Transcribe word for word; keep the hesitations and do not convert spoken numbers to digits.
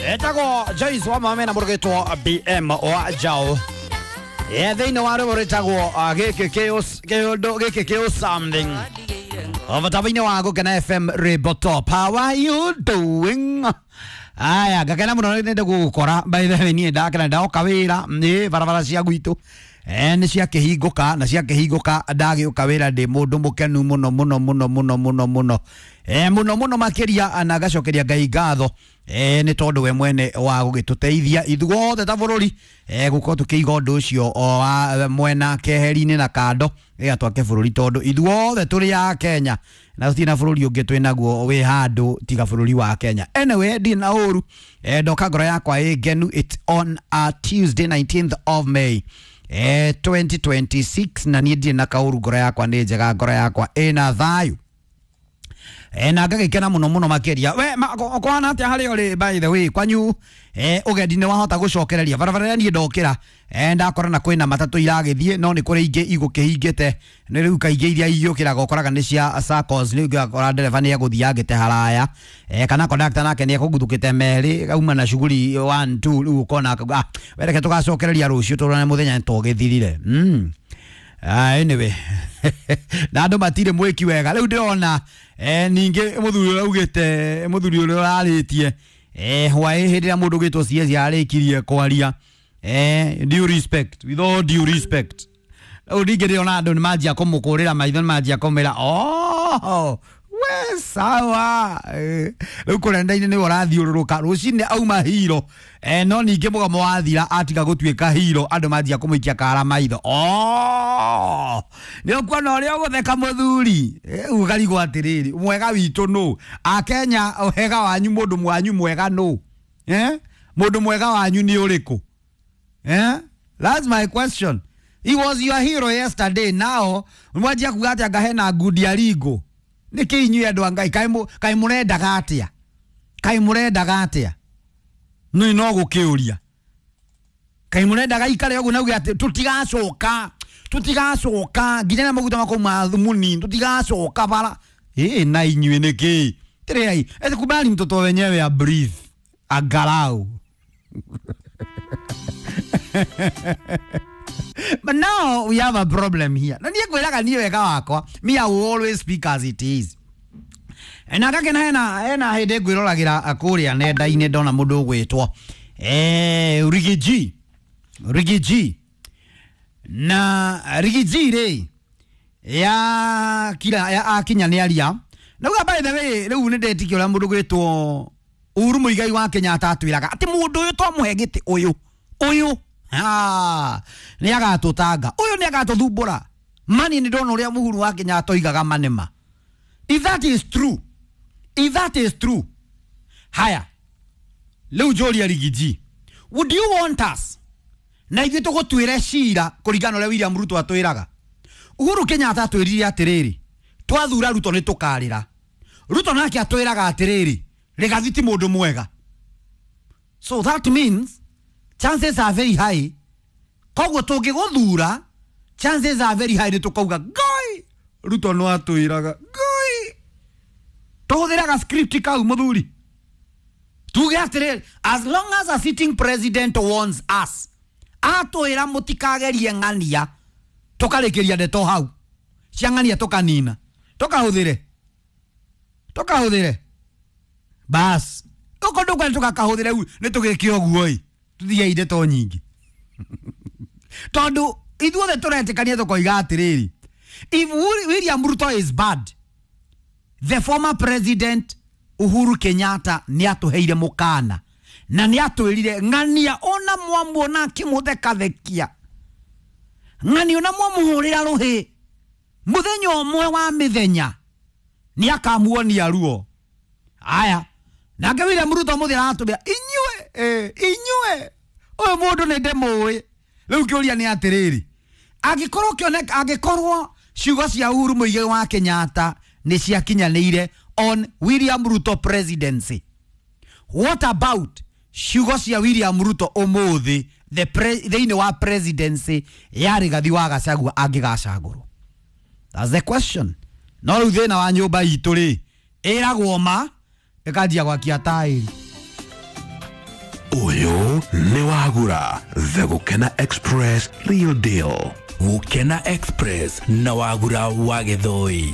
Etagwo Joyce wa mame na mũrũgĩtwo B M wa Jao. Yeah, thĩinĩ wa rwĩmbo rwĩtagwo gĩkĩ kĩũndũ gĩkĩ kĩũ something. Mũtambo-inĩ wa Gũkena F M Rainbow Top. How are you doing? Aya, ngakena mũno nĩ gũgũkora. By the way, niĩ ndakena ndoka wĩra nĩ barabara cia gwitũ. Eh, nĩ ciakĩhingũka na ciakĩhingũka ndagĩũka wĩra ndĩ mũndũ mũkenu mũno mũno mũno mũno mũno mũno. Eh, mũno mũno makĩria na ngacokeria Ngai ngatho. Eh, nĩ tondũ we mwene wa gũgĩtũteithia ithuothe ta bũrũri eh, gũkorwo tũkĩiga ũndũ ũcio o wa mwena keheri-inĩ na kando ĩga twake bũrũri tondũ ithuothe tũrĩ a Kenya na tũtirĩ na bũrũri ũngĩ twĩ naguo wĩ handũ tiga bũrũri wa Kenya. Anyway, ndirĩ na ũru eh, ndoka ngoro yakwa ĩ ngenu. It's on a Tuesday nineteenth of May eh, twenty twenty-six na niĩ ndirĩ na kaũru, ngoro yakwa nĩ njega, ngoro yakwa ĩna thayũ. Eh, na ngagĩkena mũno mũno makĩria. We kũhana atĩa harĩa ũrĩ by the way kwanyu eh, ũgendi nĩ wahota gũcokereria barabara ĩrĩa niĩ ndokĩra eh, ndakora na kwĩna matatũ iragĩthiĩ no nĩ kũrĩ ingĩ igũkĩhingĩte nĩ rĩu kaingĩ iria igĩũkĩraga ũkoraga nĩ cia SACCOS nĩ ũgakora ndereba nĩ egũthiĩ angĩte haraya eh, kana conductor nake nĩ ekũguthũkĩte merĩ auma na shughuli one two rĩu ũkona ah, we reke tũgacokereria rũciũ tũrone mũthenya nĩ tũgĩthirire mm. Ah, anyway na andũ matirĩ mwĩki wega rĩu ndĩrona eh, ningĩ mũthuri ũrĩa augĩte mũthuri ũrĩa ũrarĩtie eh, hwaĩ hĩndĩ ĩrĩa mũndũ ũgĩtwo C S arĩkirie kwaria eh, due respect, with all due respect, rĩu ningĩ ndĩrona andũ nĩ manjia kũmũkũrĩra maitho nĩ manjia kũmĩra oh, we sawa eh, rĩu kũrĩa nenda-inĩ nĩwe ũrathiũrũrũka rũcinĩ auma hiro eh, no ningĩ mũgomo wathira atiga gũtuĩka hiro andũ manjia kũmũikia kara maitho oh, nĩ ũkuona ũrĩa ũgũtheka mũthuri ũkarigwo atĩrĩrĩ mwega witũ nũ Akenya wega wanyu mũndũ mwanyu mwega nũ eh? Mũndũ mwega wanyu nĩ ũrĩkũ eh? That's my question. He was your hero yesterday, now mwanjia kuga atĩ anga hena ngundi ya ringo nĩkĩ inyuĩ andũ a Ngai kaĩ mũrendaga atĩa kaĩ mũrendaga atĩa nĩ no gũkĩũria kaĩ mũrendaga ikare ũguo na uge atĩ tũtigacoka tũtigacoka nginya na maguta makau thumuni tũtigacoka bara ĩ na inyuĩ nĩkĩ tĩrĩai eti kubali mtoto wenyewe a breathe angalau. But now we have a problem here. Na niĩ ngwĩraga niĩ wega wakwa, me I will always speak as it is. Na ngakena hena hena hĩndĩ ngwĩroragĩra kũrĩa nenda-inĩ ndona mũndũ ũgwĩtwo eh Rigiji Rigiji na Rigiji rĩ ya kila ya akinya nĩ aria na uga by the way rĩu nĩ ndetĩkia ũrĩa mũndũ ũgwĩtwo Uhuru Muigai wa Kenyatta atwĩraga atĩ mũndũ ũyũ twamũhe gĩtĩ ũyũ ũyũ ah nĩ agatũtanga ũyũ nĩ agatũthumbũra mani nĩ ndona ũrĩa Uhuru wa Kenyatta oigaga manema. If that is true, if that is true, haya rĩu njũria Rigiji, would you want us na ithuĩ tũgũtuĩre cira kũringana ũrĩa William Ruto atwĩraga? Uhuru Kenyatta atwĩrire atĩrĩrĩ twathura Ruto nĩ tũkarĩra. Ruto nake atwĩraga atĩrĩrĩ Rigathi ti mũndũ mwega. So that means chances are very high koguo tũngĩgũthura chances are very high nĩ tũkauga Ngai Ruto no atwĩraga Ngai tũhũthĩraga script kau mũthuri tuge atĩrĩrĩ as long as a sitting president warns us atwĩra mũtikagerie ng'ania tũkarĩkĩria ndeto hau cia ng'ania tũkanina tũkahũthĩre tũkahũthĩre bas ũko ndũkwenda tũgakahũthĩre nĩ tũgĩke ũguo ĩ tuthiei ndeto nyingĩ tondũ ithuothe tũretĩkania tũkoiga atĩrĩrĩ if William Ruto is bad, the former president Uhuru Kenyatta nĩ atũheire mũkana na nĩ atwĩrire ng'ania ona mwamuona akĩmũthekathekia ng'ania ona mwamũhũrĩra rũhĩ mũthenya ũmwe wa mĩthenya nĩ akamuonia ruo. Aya nake William Ruto mũthĩ aratũmĩra inyuĩ eh, inyuĩ ũyũ mũndũ nĩ ndĩmũĩ. Rĩu kĩũria nĩ atĩrĩrĩ angĩkorwo kĩoneka angĩkorwo ciugo cia Uhuru Muigai wa Kenyatta nĩ ciakinyanĩire on William Ruto presidency, what about ciugo cia William Ruto ũmũthĩ the thĩinĩ wa presidency ya Rigathi wa Gachagua angĩgacagũrwo? That's the question. No rĩu thĩna wa nyũmba itũ rĩ ĩragwo ma ĩkanjia gwakia taĩri. Ũyũ nĩ Wagura, The Gũkena Express, real deal. Gũkena Express na Wagura wa Gĩthũi.